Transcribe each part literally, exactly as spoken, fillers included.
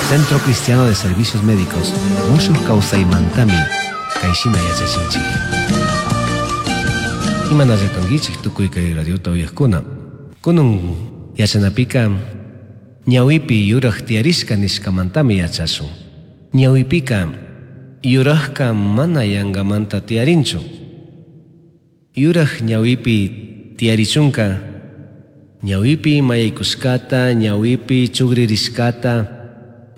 Centro Cristiano de Servicios Médicos mushuj kawsaymantami kayshina yachachinchik. Imanalla kankichik tukuy kay radiota uyaqkuna. Kunun yachanapika ñawipi yuraj tiyarishka nishkamantami yachashun. Ñawipika yurajka mana yangamanta tiyarinchu. Yuraj ñawipi tiyarichunka ñawipi mayaykushkata, ñawipi chugririshkata,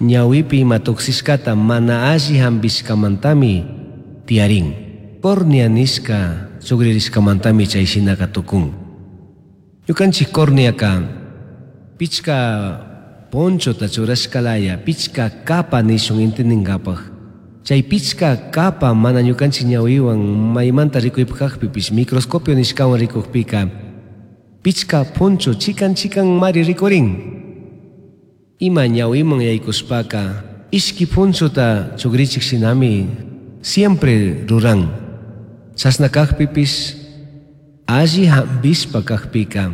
ñawipi ima tuksishkata mana alli hampishkamantami tiyarin. Córnea nishka chugririshkamantami chay shinaka tukun. Ñukanchik córneaka pichka ponchota churashkalaya, pichka capa nishun intindingapaj. Chay pichka capa mana ñukanchik ñawiwan maymanta rikuypajpipish microscopio nishkawan rikukpika pichka poncho chikan chikan mari rikurin. Ima ñawiman yaykushpaka ishki ponchota chugrichik shinami siempre ruran. Chashna kakpipish alli hampishpa kakpika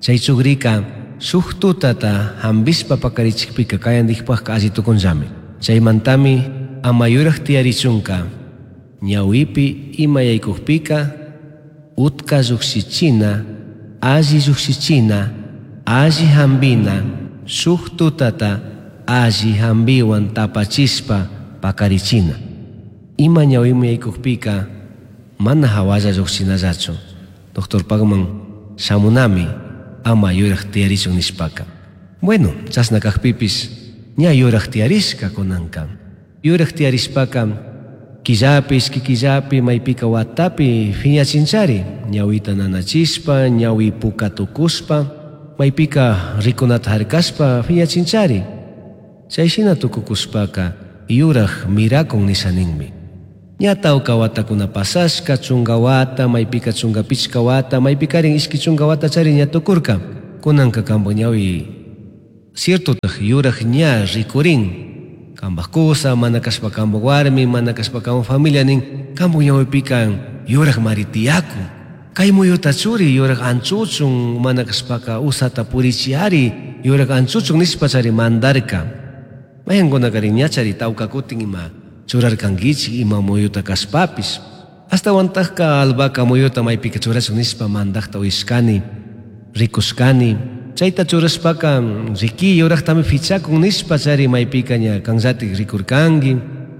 chay chugrika shuk tutata hampishpa pakarichikpika kayandikpajka alli tukunllami. Chaymantami ama yuraj tiyarichunka ñawipi ima yaykukpika utka llukshichina, alli llukshichina, alli hampina, shuk tutata alli hampiwan tapachishpa pakarichina. Ima ñawiman yaykukpika mana hawalla llukshinallachu. Doctorpakman shamunami ama yuraj tiyarichun nishpaka. Bueno, chashna kakpipish ña yuraj tiyarishka kunanka. Yuraj tiyarishpaka killapi, ishki killapi, maypika watapi phiñachinchari. Ñawita nanachishpa, ñawi puka tukushpa, maypika rikunata harkashpa phiñachinchari. Chay shina tukukushpaka yuraj mirakun nisha ninmi. Ña tawka watakuna pasashka, chunka wata, maypika chunka pichka wata, maypikarin ishki chunka wata chari ña tukurka. Kunanka kampak ñawi ciertotaj yuraj ña rikurin. Kampak kusa, mana kashpa kampak warmi, mana kashpa kampak familia nin, kampak ñawipika yuraj mari tiyakun. Kay muyuta churi yuraj anchuchun, mana kashpaka usata purichiari yuraj anchuchun nishpa chari mandarka. Mayankunakarin ña chari tawka kutin ima churarkankichik ima muyuta kashpapish. Ashtawantajka albahaca muyuta maypika churashun nishpa mandajta uyashkani, rikushkani. Chayta churashpaka riki yurajtami fichakun nishpa chari maypika ña kanllatik rikurkanki,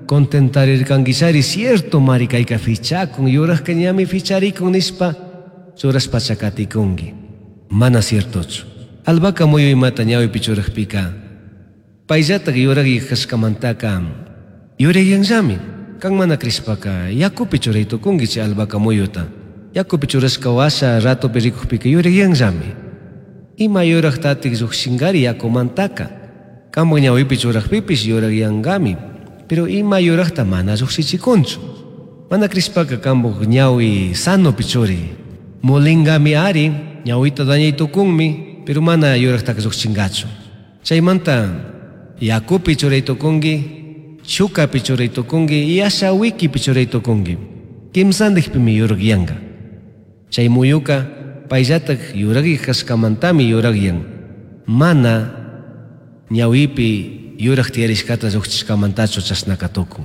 contentarirkanki chari cierto mari kayka fichakun, yurajka ñami ficharikun nishpa churashpa chakatikunki. Mana ciertochu. Albahaca muyu imata ñawipi churajpika payllatak yuraj kashkamantaka yurayyanllami. Kan mana crishpaka yakupi churay tukunki chay albahaca muyuta. Yakupi churashka washa ratopi rikukpika yurayyanllami. Ima yurajtatik llukshinkari yakumantaka. Kampak ñawipi churajpipish yurajyankami. Pero ima yurajta mana llukshichikunchu. Mana crishpaka kampak ñawi sanopi churi. Mulinkami ari, ñawita dañay tukunmi, pero mana yurajtaka llukshinkachu. Chaymanta yakupi churay tukunki, chukapi churay tukunki, yasha wikipi churay tukunki. Kimsandikpimi yurajyanka. Chay muyuka payllatak yurajik kashkamantami yurajyan. Mana ñawipi yuraj tiyarishkata llukshichishkamantachu chashnaka tukun.